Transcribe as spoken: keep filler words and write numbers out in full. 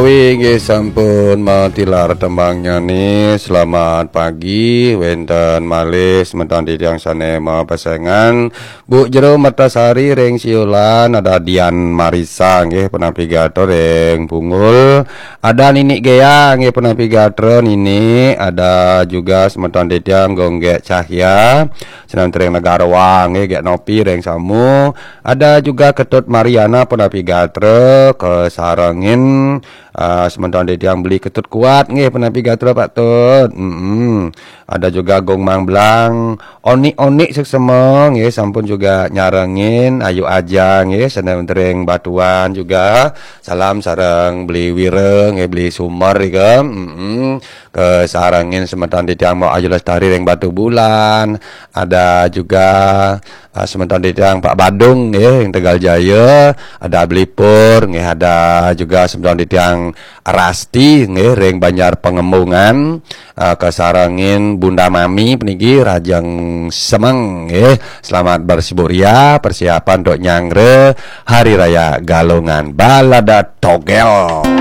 Wi, nggih sampun matilar tembangnya nih. Selamat pagi, wénten malih semeton titiang sané mapesengan. Bu Jero Mertasari ring Siulan, ada Dian Marisa nggih punapi gatra ring Bungul. Ada Nini Gea nggih punapi gatra Nini, ada juga semeton titiang Gonggek Cahya, semeton ring Negara Wang nggih, Gek Nopi ring Samu. Ada juga Ketut Mariana punapi gatra, kasarengin ah, semeton titiang Beli Ketut Kuat nggih punapi gatra Pak Tut. Mm-mm. Ada juga Gong Mang Blang, Onik-onik suksema nggih sampun juga nyarengin, Ayu Aja nggih, semeton ring Batuan juga. Salam sareng Beli Wira nggih, Beli Sumer ika. Mm-mm. Kasarengin semeton titiang Mbok Ayu Lestari ring Batubulan. Ada juga ah, semeton titiang Pak Badung nggih ring Tegal Jaya, ada Beli Pur nggih, ada juga semeton titiang Rasti nggih ring Banjar Pengembungan, ah, kasarengin Bunda Mami puniki, rahajeng semeng nggih. Selamat bersibuk ria, persiapan untuk nyanggra Hari Raya Galungan. Balada Togel.